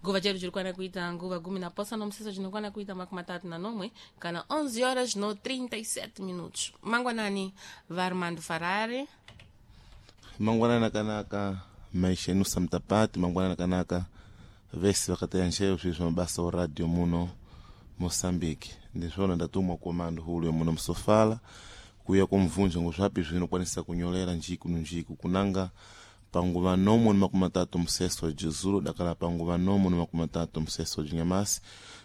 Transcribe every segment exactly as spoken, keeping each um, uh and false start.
Nguva chedu chirikwana kuita nguva gumi na posa nomuseso chinokwana kuita makumi matatu na nomwe kana onze horas no trinta e sete minutos. Mangwanani, Varmando Farare. Mangwanani akanaka, maisha enusa mtapati. Mangwanani akanaka vese vakataya nxeyo swi mabasa o radio muno Moçambique. Ndiswona ndatumwa komando hulu muno Msofala kuya kumvunja ngozvapi zvinokwanisa kunyolera njiku njiku kunanga panguva nomo ni makumi matatu mseso wa dakala panguva nomo ni makumi matatu mseso wa jinyamasi,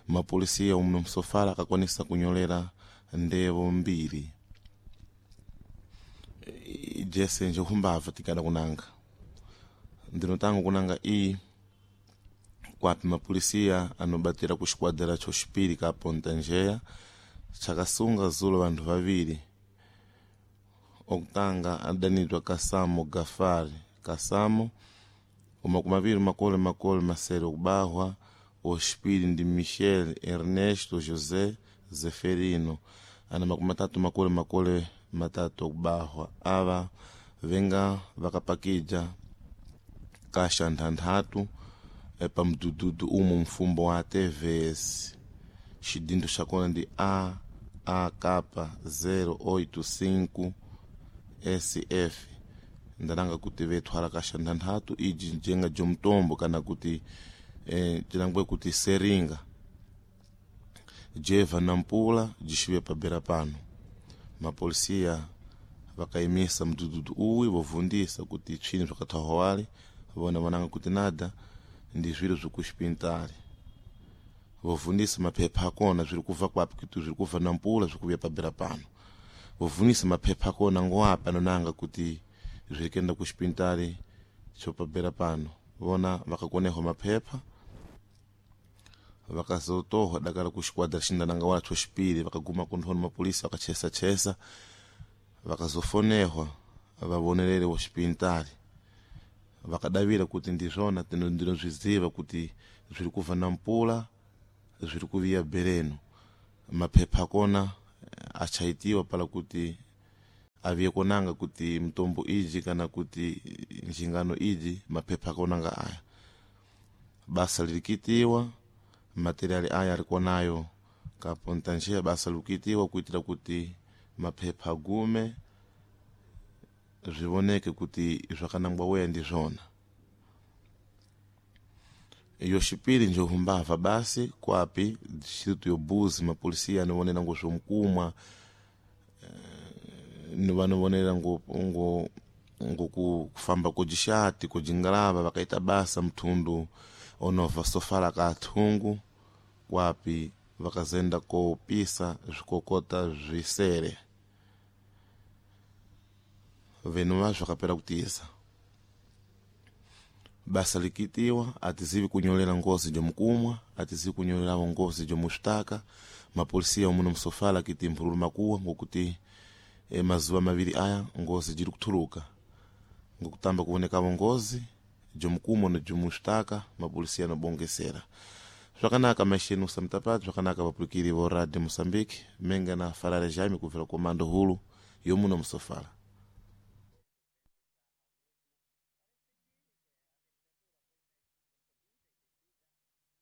mapolisia umuno Msofala akakwanisa kunyolera ndevo mbiri jese njehumbava tikada kunanga ndinotanga kunanga iyi kwapi mapolisia anobatira ku xikuadra xoxipiri ka Ponta Njeya chakasunga zulo vanthu vaviri. Okutanga adanidwa Kasamo Gafari Kasamo, umakumi maviri makole makole masere okubahwa. Oxipiri ndi Michel Ernesto José Zeferino, ana makumi matatu makole makole matatu okubahwa. Ava venga vakapakija kasha nthanthatu pamdududu umu mfumbo wa T V S, xidindo xakona ndi A A K zero oito cinco S F. Ndananga kuti vethwala kasha nthanthatu iji njenga jomtombo kana kuti eh, cinangwe kuti seringa jeva na mpula jixiwe pabera pano. Mapolisia vakayimisa mdududu uwi, vovundisa kuti tshini zvakathahwawale. Vona vananga kuti nada ndi zviro zvikuxipintali. Vovundisa maphepha akona zviri kubva kwapi, kuti zviri kubva na mpula zvikuvuya pabera pano. Vovundisa maphepha akona ngoapi anonanga kuti zviri kenda kuxipintali xo pabera pano. Vona vakakonehwa maphepha, vakazotohwa dakala ku xikuadra xindananga wala xoxipiri. Vakaguma kunthoni mapolisi vakachesachesa, vakazofonehwa vavonelele woxipintali, vakadavira kuti ndizvona ndinozviziva kuti zviri kubva na mpula zviri kuviya bereno. Maphepha akona achaitiwa pala kuti aviye konanga kuti mtombo iji kana kuti njingano iji, maphepha akonanga aya. Basa lirikitiwa, materiali aya alikonayo kaponta njia. Basa likitiwa kuitira kuti maphepha agume zvivoneke kuti zvakanangwa weya ndizvona. Yoxipiri njohumbava basi kwapi distrito yobuzi, mapolisia anovonera ngo zvomkumwa, vanovonera ngo, ngo, ngo kufamba kojixati kojingalava. Vakaita basa mthundu onova Sofala ka athungu kwapi vakazenda kopisa zvikokota zvisere venu vazvo vakapera kutiza. Basa likitiwa, atizivi kunyolera ngozi jomukumwa, atizivi kunyolerawo ngozi jomuxitaka. Mapolisia omuno Msofala akiti mphululu makuwa ngokuti e, mazuva maviri aya ngozi jiri kuthuluka ngokutamba kuonekavo ngozi jomukumwa no jomuxitaka. Mapolisia anobongesera zvakanaka maisha enu samtapati zvakanaka vapulikiri vo Radio Moçambique menga na Farare Jaime kubvira komando hulu yomuno Msofala.